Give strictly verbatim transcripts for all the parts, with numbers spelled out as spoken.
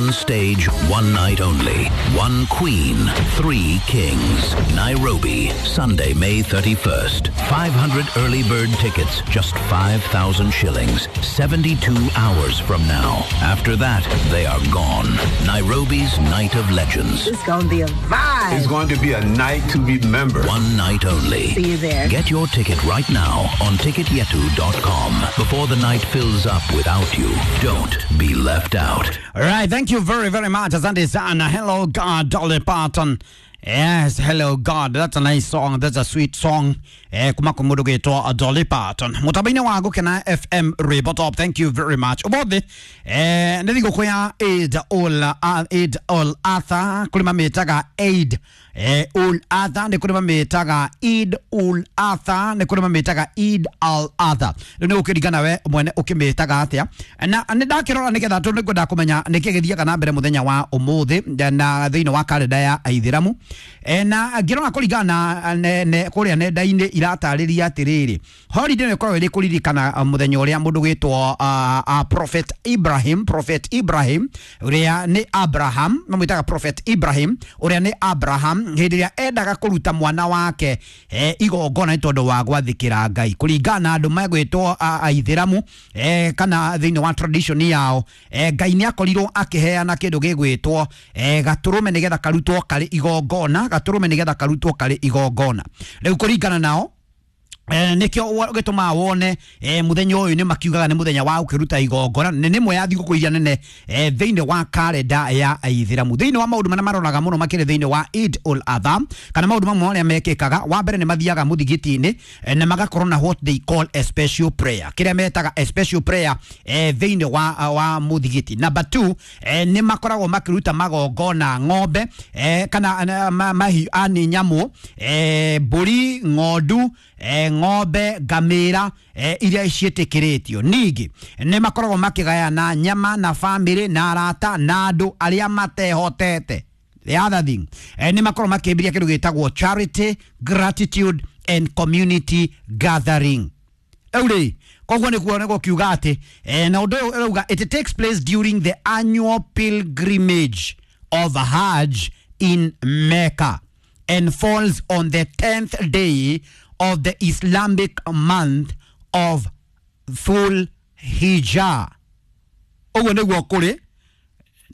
One stage, one night only. One queen, three kings. Nairobi, Sunday, May thirty-first. five hundred early bird tickets, just five thousand shillings. seventy-two hours from now. After that, they are gone. Nairobi's Night of Legends. It's going to be a vibe. It's going to be a night to remember. One night only. See you there. Get your ticket right now on ticketyetu dot com before the night fills up without you. Don't be left out. All right, thank you very, very much. Asante sana. Hello God, Dolly Parton. Yes, hello God. That's a nice song. That's a sweet song. Eh, kuma kumudu gitwa Dolly Parton. Mutabaini wa Gukena F M Rwimbo Top. Thank you very much. Umuthi eh nĩ thigũkũ ya Eid ul Eid ul Adha, kũrĩ mamĩtaga Eid eh ul Adha, nĩ kũrĩ mamĩtaga Eid ul Adha, nĩ kũrĩ mamĩtaga Eid al Adha. Rĩu nĩ gũkĩringana we mwene ũkĩmĩtaga atĩa. Na nĩ ndakĩrora nĩgetha tondũ nĩngwenda kũmenya nĩkĩ gĩthiaga na mbere mũthenya wa ũmũthĩ na thĩinĩ wa karenda ya Aithĩramu. E, na ngĩrora kũringana na ne, ne, kũrĩa nenda-inĩ iratarĩria atĩrĩrĩ, holiday ĩno ĩkoragwo ĩrĩ kũririkana uh, mũthenya ũrĩa mũndũ gwĩtwo uh, uh, Prophet Ibrahim Prophet Ibrahim ũrĩa nĩ Abraham, mamwĩtaga Prophet Ibrahim ũrĩa nĩ Abraham, hĩndĩ ĩrĩa endaga kũruta mwana wake eh, igongona nĩ tondũ wa gwathĩkĩra Ngai, kũringana na andũ megwĩtwo uh, Aithĩramu eh, kana thĩinĩ wa tradition yao, eh, Ngai nĩ akorirwo akĩheana kĩndũ gĩgwĩtwo eh, gatũrũme nĩgetha karutwo karĩ igongona, gatũrũme nĩgetha karutwo karĩ igongona. Rĩu kũringana nao, Eh, nikio gĩtũmaga wone eh, mũthenya ũyũ nĩ makiugaga nĩ mũthenya wa gũkĩruta igongona, nĩ nĩmwe ya thigũkũ iria nene eh, thĩinĩ wa karenda ya Aithĩramu. Thĩinĩ wa maũndũ marĩa maroraga mũno makĩrĩ thĩinĩ wa Eid ul Adha, kana maũndũ mamwe marĩa mekĩkaga, wa mbere nĩ mathiaga mũthigiti-inĩ eh, na magakorwo na what they call a special prayer, kĩrĩa metaga a special prayer eh, thĩinĩ wa, wa mũthigiti. Number two, eh, nĩ makoragwo makĩruta magongona ng'ombe eh, kana eh, ma, mahiũ ani nyamũ, eh, mbũri, ng'ondu, eh, ng'ombe, ngamĩra eh, iria ciĩtĩkĩrĩtio. Ningĩ nĩ makoragwo makĩgayana nyama na bamĩrĩ na arata na andũ arĩa matehotete. The other thing, eh, nĩ makoragwo makĩambĩrĩria kĩndũ gĩtagwo charity, gratitude and community gathering. Rĩu rĩ, koguo nĩkuo nĩ gũkiuga atĩ eh, na ũndũ ũyũ ũrauga it takes place during the annual pilgrimage of Hajj in Mecca and falls on the tenth day of the Islamic month of Dhul Hijjah. Ũguo nĩguo kũrĩ,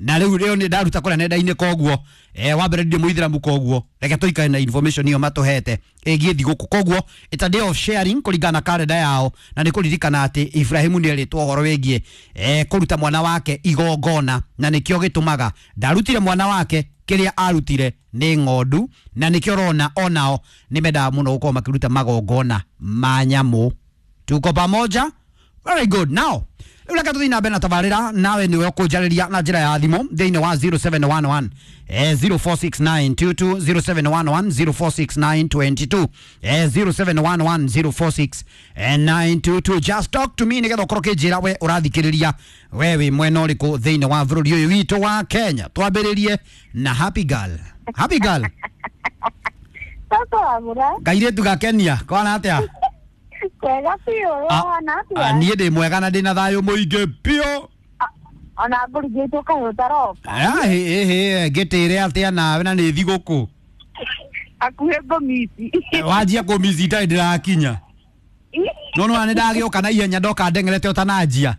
na rĩu rĩo nĩ ndaruta kũrĩa nenda-inĩ, koguo eh, wa mbere ndirĩ mũithĩramu, koguo reke tũikare na information ĩyo matũhete ĩgiĩ thigũkũ. Koguo it's a day of sharing kũringana na karenda yao, na nĩ kũririkana atĩ Ibrahimu nĩ erĩtwo ũhoro wĩgiĩ eh, kũruta mwana wake igongona, na nĩkĩo gĩtũmaga ndarutire mwana wake, kĩrĩa arutire nĩ ng'ondu, na nĩkĩo ũrona onao nĩ mendaga mũno gũkorwo makĩruta magongona ma nyamũ. Tuko pamoja? Very good. Now rĩu reke tũthiĩ na mbere na tabarĩra, nawe nĩwe ũkũnjarĩria na njĩra ya thimũ thĩinĩ wa zero seven one one eh, zero four six nine two two, zero seven one one zero four six nine two two, eh, zero seven one one zero four six eh, nine two two. Just talk to me nĩgetha ũkorwo ũkĩnjĩra we ũrathikĩrĩria we wĩ mwena ũrĩkũ thĩinĩ wa bũrũri ũyũ witũ wa Kenya. Twambĩrĩrie na Happy Girl. Happy Girl. Sasa wabura. Kairĩtu gakenia kwana atĩa? Kwega biũ. Ah, wana ah, atĩa? Niĩ ndĩ mwega na ndĩ na thayũ mũingĩ biũ. Ona ngũrigĩtwo kahũtaroka. Ah, hĩ hĩ, ngĩtĩre atĩa nawe na nĩ thigũkũ? Hakuhĩ ngũmici. Wanjia kũmici itarĩ ndĩrakinya, no nona nĩ ndagĩũka na ihenya, ndoka ndeng'erete ũtananjia.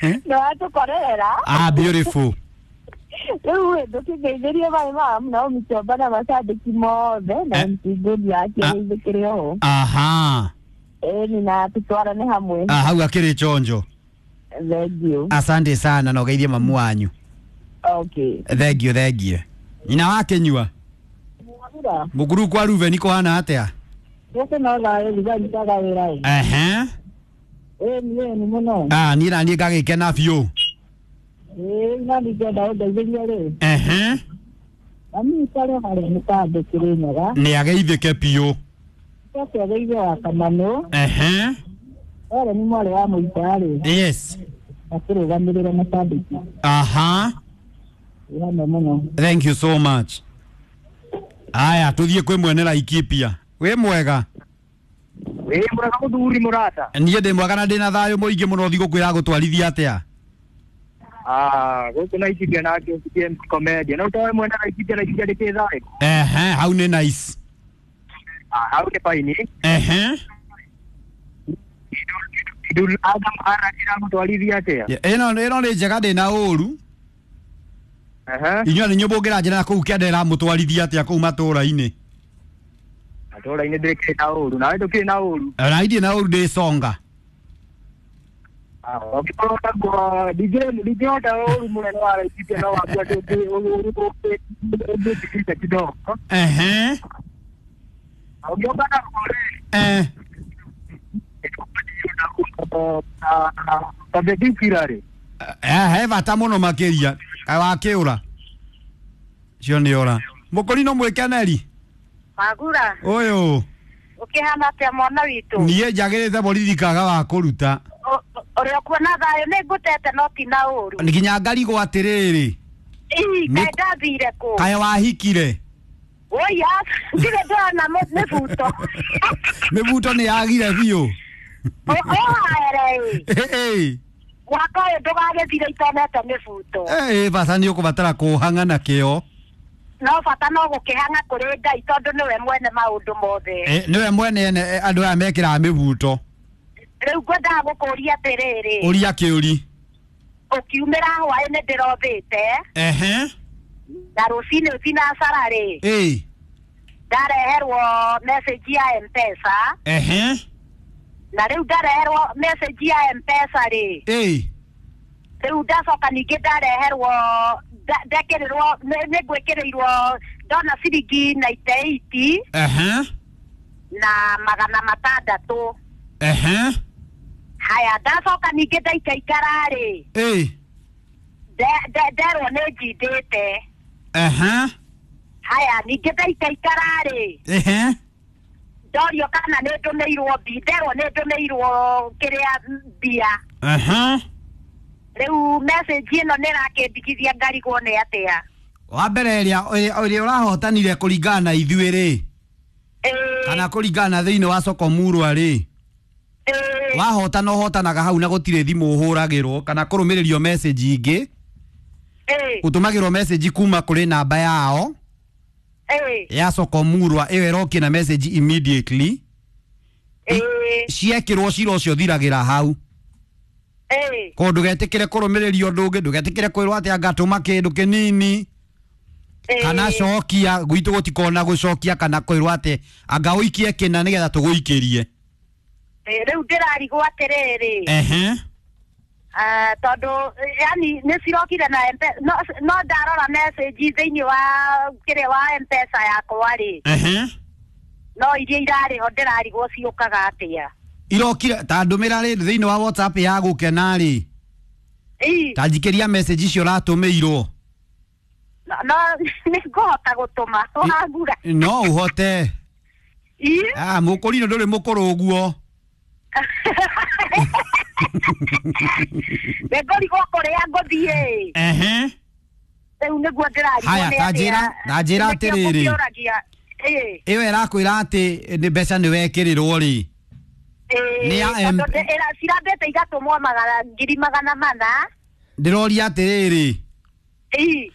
Nĩ watũkorerera. Ah, beautiful. Rĩu ĩ ndũkĩngeithĩrie maĩ mamu na ũmĩchomba na macambĩki mothe na Eh. mcingũri yake Ah. ĩthĩkĩrĩ oho. Aha. Ĩni na tũtwarane hamwe. Ah, hau akĩrĩ chonjo. Thank you. Asante sana na ũgeithie mamu wanyu. Okay. Thank you, thank you. Nyina wa kĩnyua. Mwabura. Mũkuru kwa Ruben kũhana atĩa? Gũkũ no thayũ, thigari wĩra ĩ. Ehe. Ĩni ĩni mũno. Ah, niĩ na niĩ ngagĩkena biũ. Ĩĩ na ningĩenda ũndeithĩrie rĩ. Ehe. Mami karĩ harĩa nĩ kandĩkĩrĩ nyaga. Nĩ ageithĩke biũ. Coke ageithie wa Kamanũ. Ehe. Ere nĩ mwarĩ wa mũita rĩ. Yes. Akĩrũgamĩrĩra macambĩki. Aha. Ĩ hamwe mũno. Thank you so much. Aya, tuthiĩ kwĩ mwene Laikipia. Wĩ mwega? Ĩ mũraga mũthuri mũrata. Niĩ ndĩ mwega na ndĩna thayũ mũingĩ mũno thigũkũ ĩragũtwarithia atĩa? Ah, gũkũ Laikipia na K M Comedian. No towe mwena Laikipia Laikipia ndĩkĩ thayũ. Ehe, hau nĩ nice. Ah, hau nĩ faini. Ehe. Idul Adam ara ĩragũtwarithia atĩa? Ĩno ĩno nĩ njega ndĩna ũru. Ehe. Inyuĩ nĩ nyũmba ũngĩranjĩra na kũu kĩanda ĩramũtwarithia atĩa kũu matũũra-inĩ? Matũũra-inĩ ndĩkĩrĩ na ũru. Nawe ndũkĩrĩ na ũru. Na idirĩ na ũru ndĩ songa. Ah, ũngĩkorwo naguo ndingĩhota ũru mũnene wa Laikipia no wakua ũngĩtigĩte kidogo. Ehe. Ũngĩũka naguo rĩ. Eh. Tabia rĩ. Eh, he bata mũno makĩria. Kaĩ wakĩũra? Cio nĩ ora. Mũkũri no mwĩkeneri. Magura. Ũyũ. Ũkĩhana atĩa mwana witũ? Niĩ njagĩrĩte borithi kaga wa kũruta. Ũrĩa ũkuona thayũ nĩ ngũtete no ti na ũru. Nginya ngarigwo atĩrĩrĩ. Ii, kaĩ ndathire kũ? Kaĩ wahikire? Oi, ndirĩ ndona mĩbuto. Mĩbuto nĩ yagire biũ. Ũhaere ĩ. Mwaka ũyũ ndũgagĩthire itonete mĩbuto. Ĩ, bata nĩ ũkũbatara kũhang'a na kĩo. No bata no gũkĩhang'a kũrĩ Ngai tondũ nĩwe mwene maũndũ mothe. Ĩ, nĩwe mwene ene andũ aya mekĩraga mĩbuto. Rĩu ngwendaga gũkũria atĩrĩrĩ. Ũria kĩũri. Ũkiumĩra hwaĩ nĩ ndĩrothĩte. Ehe. Na rũcinĩ thinacara rĩ. Ĩ. Ndareherwo message ya M-Pesa. Ehe. Na rĩu ndareherwo message ya M-Pesa rĩ. Ĩ. Rĩu ndacoka ningĩ ndareherwo ndekĩrĩrwo nĩ ngwĩkĩrĩirwo ndona ciringi ninety eight. Ehe. Na magana matandatũ. Ehe. Haya ndacoka ningĩ ndaikaikara rĩ. Ĩ. Nderwo nĩ njindĩte. Ehe. Haya ningĩ ndaikaikara rĩ. Ehe. Ndorio kana nĩ ndũmĩirwo mbi nderwo nĩ ndũmĩirwo kĩrĩa mbia. Ehe. Rĩu message ĩno nĩ ĩrakĩndigithia ngarigwo nĩ atĩa. Wa mbere ĩrĩa ĩrĩa ũrahotanire kũringana na ithuĩ rĩ. Kana kũringana na thĩinĩ wa soko murwa rĩ. Wahotana ũhotanaga hau na gũtirĩ thimũ ũhũragĩrwo kana kũrũmĩrĩrio message ingĩ. Ũtũmagĩrwo message kuma kũrĩ namba yao. Ya soko murwa ĩyo ĩrokie na message immediately. Ciekĩrwo cira ũcio ũthiragĩra hau. Ko ndũgetĩkĩre kũrũmĩrĩrio ũndũ ũngĩ, ndũgetĩkĩre kwĩrwo atĩ angatũma kĩndũ kĩnini. Kana cokia gwitũ gũtikona gũcokia kana kwĩrwo atĩ anga ũikie kĩna nĩgetha tũgũikĩrie. Rĩu ndĩrarigwo atĩrĩrĩ. Ehe. Ah, tondũ yani nĩ cirokire na M-Pesa no no ndarora message thĩinĩ wa kĩrĩa wa M-Pesa yakwa rĩ. Ehe. No iria irarĩ ho ndĩrarigwo ciũkaga atĩa. Irokire ta ndũmĩra rĩ thĩinĩ wa WhatsApp ya gũkena rĩ. Ĩ. Ta njikĩria message icio ũratũmĩirwo. No no nĩ ngũhota gũtũma wagura. No ũhote. Ĩ. Ah, mũkũrino ndũrĩ mũkũrũ ũguo. Nĩngũrigwo kũrĩa ngũthiĩ. Ehe. Rĩu nĩguo ndĩrarigwo Haya, nĩ ta atĩa. njĩra, ta njĩra Nĩkĩo atĩrĩrĩ. ngũkĩũragia. Ĩ. Ĩyo ĩrakwĩra atĩ nĩ mbeca nĩ wekĩrĩrwo rĩ. Nĩ ya M cirambĩte igatũmwo magana ngiri magana mana. Ndĩroria atĩrĩrĩ. Ĩ.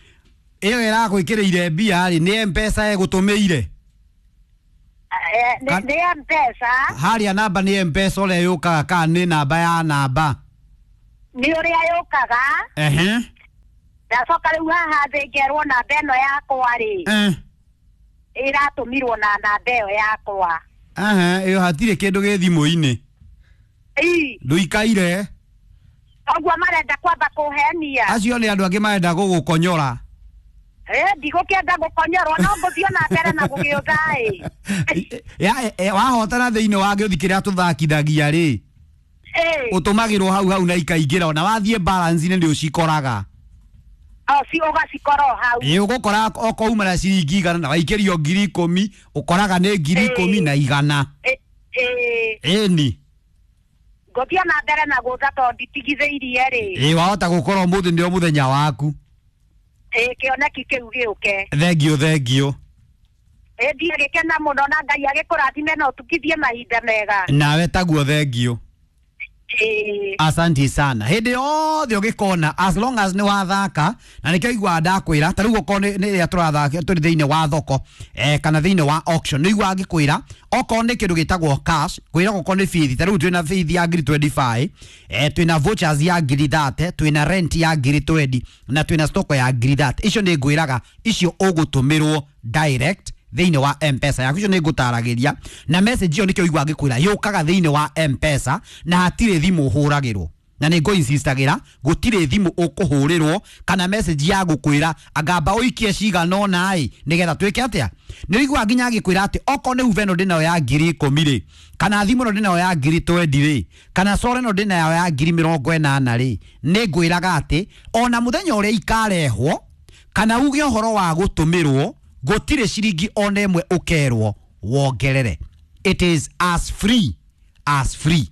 Ĩyo ĩragwĩkĩrĩire mbia rĩ nĩ M-Pesa ĩgũtũmĩire. Nĩ M-Pesa. Harĩa namba nĩ M-Pesa ũrĩa yũkaga kana nĩ namba ya namba? Nĩ ũrĩa yũkaga. Ehe. Ndacoka rĩu haha thĩ ngerwo namba ĩno yakwa rĩ. Eh. Ĩratũmirwo na namba ĩyo yakwa. Ehe, ĩyo hatirĩ kĩndũ gĩ thimũ-inĩ. Ĩ. Ndũikaire. Ũguo marenda kwamba kũhenia. Acio nĩ andũ angĩ marenda gũgũkonyora. Eh, ndigũkĩenda gũkonyorwo no ngũthiĩ na mbere na gũgĩũtha ĩ. Ya wahotana thĩinĩ wa gĩũthi kĩrĩa tũthakithagia rĩ. Ĩ. Ũtũmagĩrwo hau hau na ikaingĩra ona wathiĩ balance-inĩ nĩ ũcikoraga. O ci ũgacikora o hau. Ĩ ũgũkora okouma na ciringi igana na waikĩrio ngiri ikũmi ũkoraga nĩ ngiri ikũmi na igana. Ĩ. Ĩni. Ngũthiĩ na mbere na gũtha tondũ nditigithĩirie rĩ. Ĩ wahota gũkorwo ũmũthĩ nĩo mũthenya waku. Ĩ kĩoneki kĩu gĩũke. Thengiũ thengiũ. Ĩĩ agĩkena mũno na Ngai agĩkũrathime na ũtukithie mahinda mega. Nawe taguo, thengio. Ĩĩ. Asante sana. Hĩndĩ yothe ũgĩkona, as long as nĩ wathaka, na nĩkĩo iguaga ndakwĩra ta rĩu okorwo nĩ rĩrĩa tũrathaka tũrĩ thĩinĩ wa thoko, eh, kana thĩinĩ wa auction, nĩ iguaga ngĩkwĩra okorwo nĩ kĩndũ gĩtagwo cash, kwĩra okorwo nĩ bithi, ta rĩu twĩna bithi ya ngiri mĩrongo ĩrĩ na ithano, eh, twĩna vouchers ya ngiri mĩrongo ĩtatũ, twĩna rent ya ngiri mĩrongo ĩrĩ na twĩna stock ya ngiri mĩrongo ĩtatũ. Icio nĩ ngwĩraga icio ũgũtũmĩrwo direct thĩinĩ wa M-Pesa yaku. Icio nĩ ngũtaragĩria na message ĩyo, nĩkĩo igua ngĩkwĩra yũkaga thĩinĩ wa M-Pesa na hatirĩ thimũ ũhũragĩrwo, na nĩ ngũ-insistagĩra gũtirĩ thimũ ũkũhũrĩrwo kana message ya gũkwĩra angamba ũikie cigana ũna ĩ nĩgetha twĩke atĩa. Nĩ ũiguaga nginya agĩkwĩra atĩ okorwo nĩ huveno ndĩnayo ya ngiri ikũmi rĩ, kana thimũ ĩno ndĩnayo ya ngiri mĩrongo ĩrĩ rĩ, kana sora ĩno ndĩnayo ya ngiri mĩrongo ĩnana rĩ, nĩ ngwĩraga atĩ ona mũthenya ũrĩa ikarehwo kana uge ũhoro wa gũtũmĩrwo, gũtirĩ ciringi ona ĩmwe ũkerwo wongerere. It is as free as free.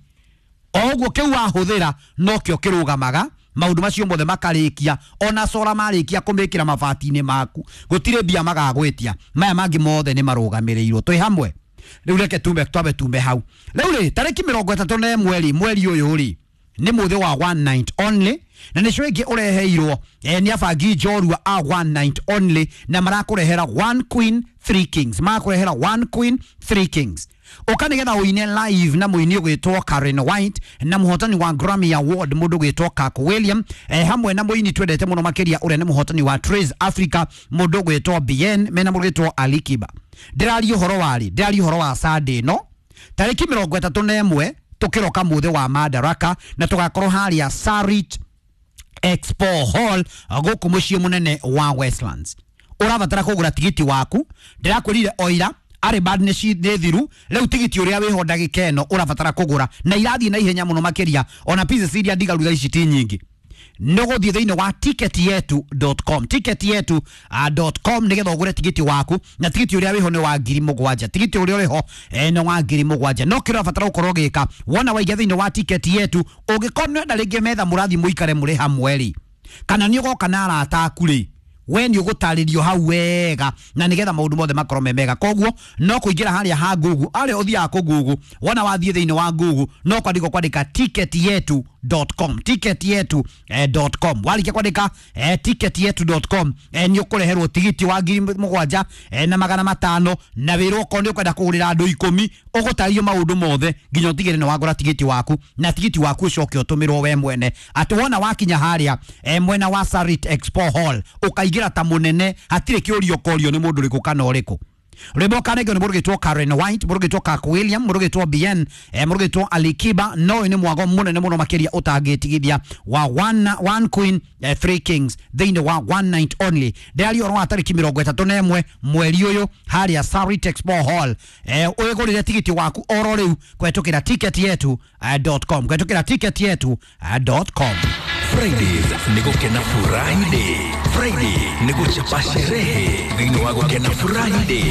O ũguo kĩu wahũthĩra nokĩo kĩrũgamaga, maũndũ macio mothe makarĩkia, ona cora marĩkia kũmĩkĩra mabati-inĩ maku, gũtirĩ mbia magagwĩtia. Maya mangĩ mothe nĩ marũgamĩrĩirwo. Twĩ hamwe rĩu, reke tume twambe tume hau. Rĩu rĩ, tarĩki mĩrongo ĩtatũ na ĩmwe rĩ, mweri ũyũ rĩ, nĩ mũthĩ wa one night only, na nĩcio ĩngĩ ũreheirwo eh, nĩ abangi njorua a one night only, na marakũrehera one queen three kings, marakũrehera one queen three kings. Ũka nĩgetha ũine live na mũini ũgwĩtwo Karen White na mũhotani wa Grammy Award mũndũ ũgwĩtwo Kirk William, eh, hamwe na mũini twendete mũno makĩria ũrĩa nĩ mũhotani wa Trace Africa mũndũ ũgwĩtwo Bien mena mũndũ ũgwĩtwo Ali Kiba. Ndĩraria ũhoro warĩ, ndĩraria ũhoro wa Sunday no tarĩki mĩrongo ĩtatũ na ĩmwe, tũkĩroka mũthĩ wa Madaraka, na tũgakorwo harĩa Sarit Expo Hall gũkũ mũciĩ mũnene wa Westlands. Ũrabatara kũgũra tigiti waku. Ndĩrakwĩrire oira arĩ bad nĩ ci nĩ thiru. Rĩu tigiti ũrĩa wĩho ndagĩka ĩno ũrabatara kũgũra na irathiĩ na ihenya mũno makĩria, ona pieces iria ndigaru thaa ici ti nyingĩ. Nĩ ũgũthiĩ thĩinĩ wa ticketyetu dot com, ticketyetu dot com, nĩgetha ũgũre tigiti waku, na tigiti ũrĩa wĩho nĩ wa ngiri mũgwanja. Tigiti ũrĩa ũrĩho eh, nĩ wa ngiri mũgwanja. No kĩrĩa ũrabatara gũkorwo ũgĩka wona waingĩra thĩinĩ wa ticket yetu, ũngĩkorwo nĩ wenda rĩngĩ metha mũrathiĩ mũikare mũrĩ hamwe rĩ, kana nĩ ũgoka na arata aku rĩ, we nĩ ũgũtarĩrio hau wega na nĩgetha maũndũ mothe makorwo me mega. Koguo no kũingĩra harĩa ha Google, harĩa ũthiaga kũ Google, wona wathiĩ thĩinĩ wa Google no kwandĩka kwandĩka ticketyetu dot com, ticketyetu dot com. Warĩkia kwandĩka eh, ticketyetu dot com, eh, nĩ ũkũreherwo tigiti wa ngiri mũgwanja eh, na magana matano, na wĩrwo okorwo nĩ ũkwenda kũgũrĩra andũ ikũmi, ũgũtarĩrio maũndũ mothe nginya ũtigĩre nĩ wagũra tigiti waku, na tigiti waku ũcoke ũtũmĩrwo we mwene, atĩ wona wakinya harĩa eh, mwena wa Sarit Expo Hall ũkaingĩra ta mũnene, hatirĩ kĩũria ũkorio nĩ mũndũ ũrĩkũ kana ũrĩkũ. Rwĩmbo kanengio nĩ mũndũ ũgĩtwo Karen White, mũndũ ũgĩtwo Kirk William, mũndũ ũgĩtwo Bien, eh, mũndũ ũgĩtwo Ali Kiba. No ũyũ nĩ mwago mũnene mũno makĩria ũtangĩtigithia wa one, one queen eh, three kings thĩinĩ wa one night only. Ndĩraria ũhoro wa tarĩki mĩrongo ĩtatũ na ĩmwe mweri ũyũ harĩa Sarit Expo Hall. eh, ũgũrĩre tigiti waku oro rĩu kũhetũkĩra ticketyetu dot com, kũhetũkĩra ticketyetu dot com. Fridays ni gukena Friday. Friday ni guchapa sherehe thĩinĩ wa gukena Friday,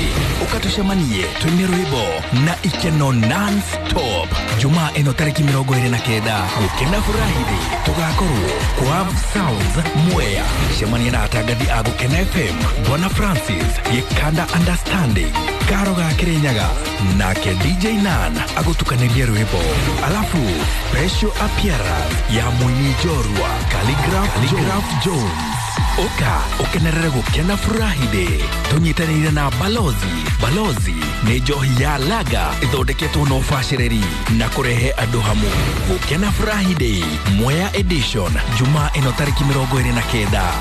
ũkatũcemanie twĩne rwĩmbo na ikeno non-stop. Jumaa ĩno tarĩki mĩrongo ĩrĩ na kenda, gukena Friday tũgakorwo kwa Sounds Mwea. Cemania na atangathi a Gukena F M, Bwana Francis Gĩkanda, Understanding Karo ga Kĩrĩnyaga, nake D J Nan agũtukanĩrie rwĩmbo, alafu special appearance ya mũini njorua Khaligraph, Khaligraph Jones. Ũka ũkenerere gũkena Friday tũnyitanĩire na Balozi. Balozi nĩ njohi ya laga ĩthondeketwo na ũbacĩrĩri na kũrehe andũ hamwe. Gũkena Friday Mwea edition, Jumaa ĩno tarĩki mĩrongo ĩrĩ na kenda.